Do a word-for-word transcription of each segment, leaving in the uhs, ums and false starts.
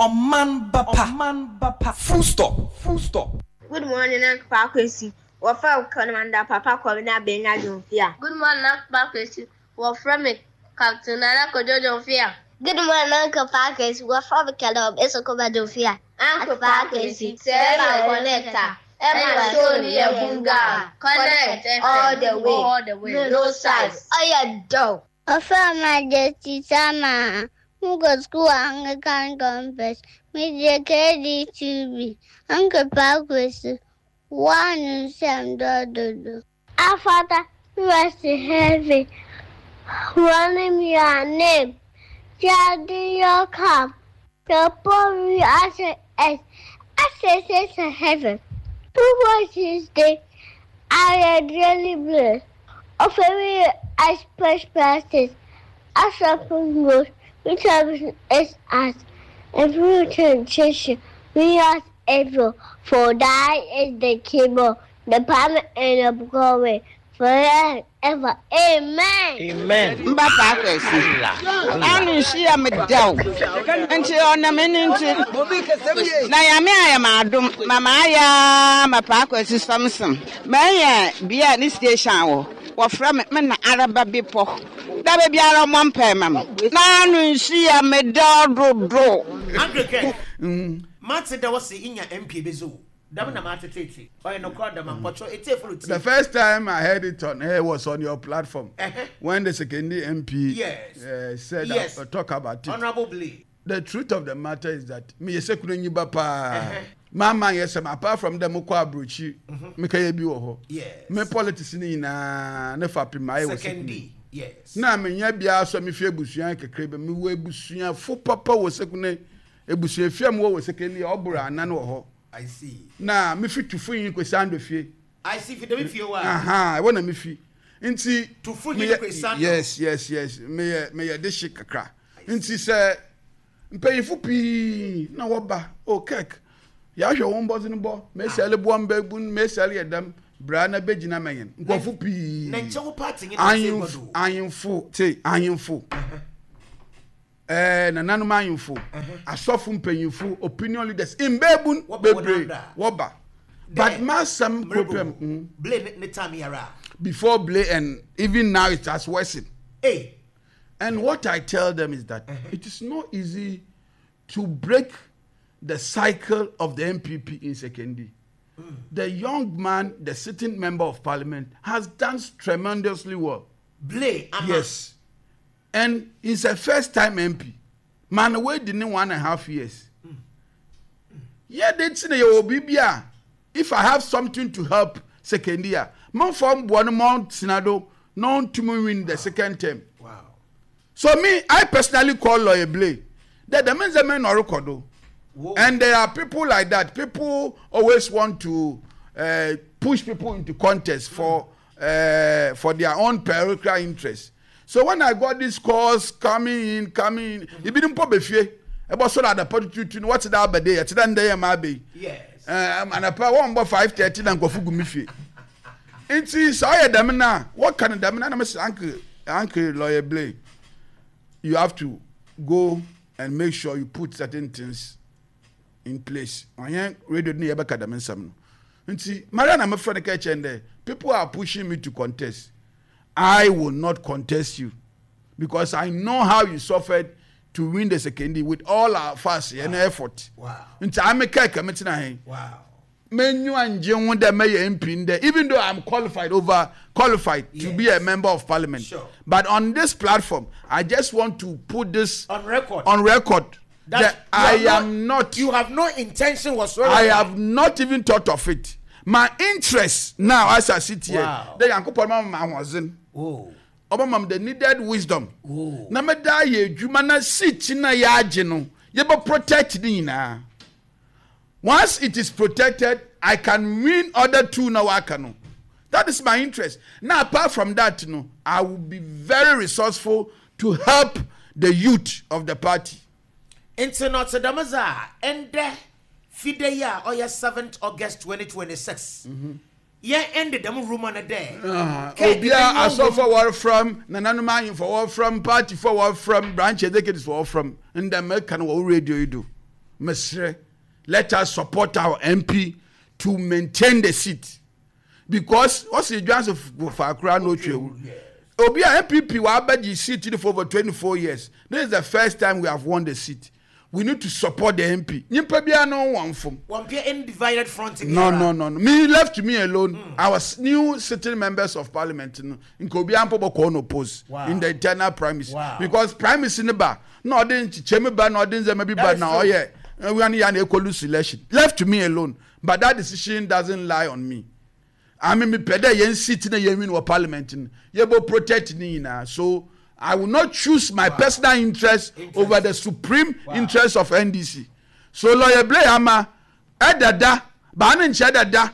Ɔman Bapa. Ba Full stop. Full stop. Good morning, Uncle Kwesi. Wɔfrɛ Commander Papa Kwabena Benya Jomfia. Good morning, Uncle Kwesi. Wɔfrɛ me Captain Nana Kojo Jomfia. Good morning, Uncle Kwesi. Wɔfrɛ me Caleb Esokoma Jomfia. Uncle Kwesi, sɛ ɛma connect a, ɛma show ni yɛ bunga. Connect all the way. All the way. No size. Ɔyɛ dope. Ɔfrɛ Majesty Sama. Mokɔ school Anglican Conference. Mede K D two B. Uncle Kwesi. One nsɛm dɔdodo. Our Father who art in heaven, hallowed be your name. Your your come. Your will as it is, as it is in heaven. Two voices day, I am really blessed. Offering as precious as a goes, which is us, and through temptation, we are able, for thine is the kingdom, the power, and the glory, forever and ever. Amen. Amen. Mba Kwesi ano nhyia me dɛw nti ɔnam ani nti na Yame ayɛ m adom ma maayɛ ma Paa Kwesi Samson manya bia ne station wɔ wɔfrɛ me me na araba bepɔ da biara ɔmmɔ mpae ma me na ano nhyia me dɛw dodo. Uncle Ken, mate dɛ wɔse inya M P bi so dɛm na mate tete ɔyɛ nokorɛ dɛm ampɔtɔ etiefo no. The first time I heard it on air was on your platform Uh-huh. when the Sekondi M P Yes. uh, said Yes. uh, talk about it. Honorable Blay. The truth of the matter is that me yɛ Sekondi nyiba paa. Uh-huh. Mama yɛ sɛm apart from them kɔ aburokyi meka yɛ bi wɔ hɔ. Yes. Me politics ni nyinaa ne fa pim ayɛ wɔ Sekondi. Sekondi. Yes. Na menya biara so a mefi ebusua kakra bi mewɔ ebusuafo papa wɔ Sekondi ebusua fie a mewɔ wɔ Sekondi ɔboro anan wɔ hɔ. I see. Na mefi Tufu yi kwesi ando fie. I see fi dɛm fie wa. Aha, ɛwɔ na mefi nti Tufu yi meyɛ- kwesi ando. yes yes yes meyɛ meyɛ de hye kakra nti sɛ mpanyinfo pii na wɔba o kɛk yɛahwɛ wɔn bɔdze no bɔ mesiale boɔ mbɛbu mesiale yɛ dɛm bra na bɛgyina mɛnyɛn nkurɔfo pii. Na nkyɛn wo party nye na ahemfo se gbɔdo. Ahemfo te ahemfo ɛɛ nananom ahemfo, asɔfo mpanyinfo, opinion leaders, mbɛɛbun Wɔba wɔn bebree anda. Wɔba, but masɛm problem mm, Blay ne ne time yara. Before Blay and even now it has worsened. Hey. And what I tell them is that it is not easy to break the cycle of the N P P in Sekondi. The young man, the sitting member of parliament, has done tremendously well. Blay ama. Yes. And he's a first time M P. Man, wait in one and a half years. Yeah, they say bibia. If I have something to help Sekondi a, man from one month Senado, non to win the second term. Wow. So me, I personally call Lawyer Blay. That the men's men are record. Whoa. And there are people like that. People always want to uh, push people into contest for uh, for their own parochial interest. So when I got these calls coming in, coming in, ebi mpo befie. Ebo so that the tutu no what that abade, e ti dan ma be. Yes. Eh, anapa wɔn bɔ five thirty na nkɔfo gu mi fie. Nti sɛ ɔyɛ dɛm na wɔka no dɛm na na mɛ sɛ uncle uncle Lawyer Blay, you have to go and make sure you put certain things in place. Ɔnyɛ radio ne yɛbɛka dɛm nsɛm no nti maria na mefrɛ no ka kyɛn dɛ people are pushing me to contest. I will not contest you because I know how you suffered to win the Sekondi with all our fast and effort. Wow. Nti ame kɛkɛ metena he Wow. menyu angye ho dɛ mɛyɛ M P ndɛ, even though I'm qualified, over qualified to be a member of parliament. Sure. But on this platform, I just want to put this On record. On record That that you I have am not You have no intention whatsoever. I have not even thought of it. My interest now as I sit here, Wow. the Yankopɔn ma ma ahoɔden. Oh. Ɔbɛma me the needed wisdom. Oh. Na meda yɛ adwuma na seat na yɛagye no, yɛbɛ protect ne nyinaa. Once it is protected, I can win other two na waka no. That is my interest. Now, apart from that, no, I will be very resourceful to help the youth of the party. Nti na ɔte dɛm dze a ɛndɛ fide yi a ɔyɛ seventh August twenty twenty-six yɛn ɛnde dɛm rumour no dɛ Kɛ Obiara ɛbɛnya asɔfo wɔrefram, nananom ahemfo wɔrefram, partyfo wɔrefram, branch executives wɔrefram ndɛ mɛka no wɔ radio yi do. Mesrɛ, let us support our M P to maintain the seat because ɔsi dwanso faakora na otwa ewu obi a N P P wa abɛgye seat for over twenty-four years. This is the first time we have won the seat. We need to support the M P. Nyimpa biara no wɔn fom. Wɔn pɛ any divided front. No, no, no, no. Me, left to me alone, mm. our new sitting members of parliament no, nka obi ampo bɔ kɔɔ no post Wow. in the internal primaries Wow. because primaries ne ba na ɔde nkyekyɛmu ba na ɔde ndzɛmba bi ba That is na true. ɔyɛ ɛwia ne ya na ekɔ lose election. Left to me alone, but that decision doesn't lie on me. I mean, me pɛ dɛ yɛn seat na yɛn win wɔ parliament no, yɛbɔ protect ne nyinaa, so I will not choose my wow. personal interest, interest over the supreme wow. interest of N D C. So Lawyer Blay ama ɛdada baa ne nkyɛn dada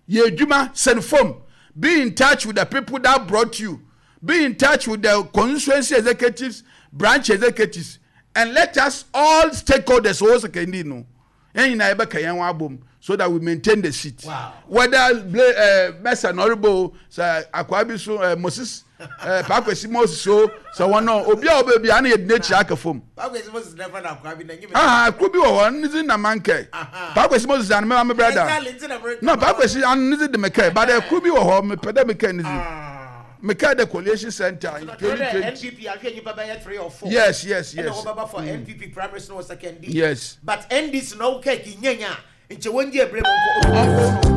yɛ adwuma sɛn fam. Be in touch with the people that brought you. Be in touch with the constituency executives, branch executives, and let us all stakeholders owó Sekondi no, yɛn nyinaa yɛbɛka yɛn ho abom so that we maintain the seat. Wow. Whether Blay uh, Mesa Noribo sɛ akwa bi so uh, Moses uh, Paakwesi Moses o, sɛ wɔn no obi a ɔbɛ bi ana yɛ di n'akyi aka fam. Paakwesi Moses never na akwa bi na nyim. Ah, kuro bi wɔ hɔ ne dzi na mankɛ Paakwesi Moses ano mɛma me brother. Exactly, nti na mere. No, Paakwesi ano ne dzi de mekɛ, but kuro bi wɔ hɔ mepɛ dɛ mekɛ ne dzi mekɛ the collation center in twenty twenty. N P P ahwɛ nipa bɛyɛ three or four. Yes yes ɛna yes wɔbɛba for N P P primaries no wɔ Sekondi. Yes. But N D C na ɔkɛ ki nyanya nkyɛ wɔn di ebire mu nkɔ.